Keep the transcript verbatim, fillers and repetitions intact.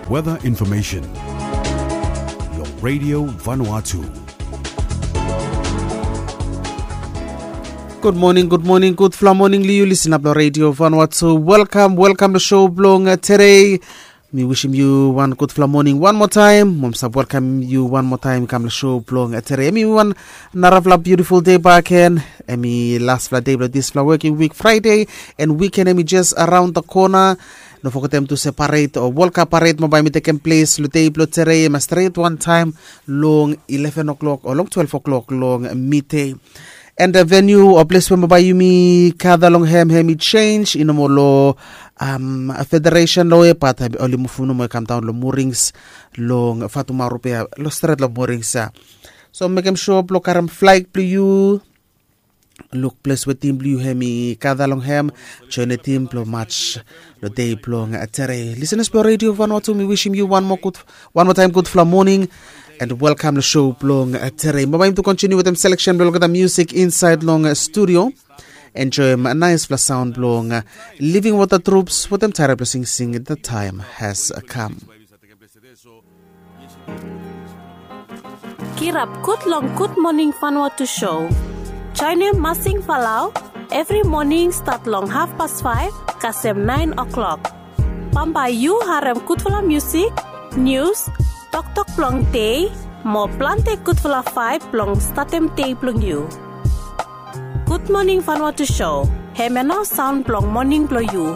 Weather information. Long Radio Vanuatu. Gud moning, gud moning, gudfala moning long yu listener blong Radio Vanuatu. Welkam, welkam long show blong uh, today. Mi wisim yu wan gudfala moning wan moa taem. Mo mi save welkam yu wan moa taem i kam long show blong uh, today. Em i wan narafala beautiful day back hen. Em i laspela day blong dispela working week Friday. And weekend em i just around the corner. No fogetem tu se paret o World Cup paret mo bai mi tekem ples long dei bilong tere em stret wantaim long eleven o'clock o long twelve o'clock long midei. And the venue o ples we mo bai yumi gather long hem hem i change i no mo lo um, federation lo e but oli mufum nomo e kam daun lo morings long fatumaru pe lo stret lo morings ya. So mekem sure blo karem flag blo yu luk ples we tim blong yu hem i gather long hem join e tim blong match long dei blong tere. Listeners blong Radio Vanuatu, mi wisim yu wan moa gud wan moa taim gudfala moning and welkam long show blong tere. Mo baim tu kontinu wetem selection blong olgeta music inside long studio. Enjoyim naispela saun blong Living Water Troops wetem tairap blong singsing The Time Has Come. Kirap gud long Gud Moning Vanuatu show. Joinim Masing Falau evri moning stat long hafpas faiv kasem nain o'clock. Bambae yu harem gudfala musik, nius, toktok blong dei, mo plante gudfala vaib blong statem dei blong yu. Gud Moning Vanuatu show, hemia nao saun blong moning blong yu.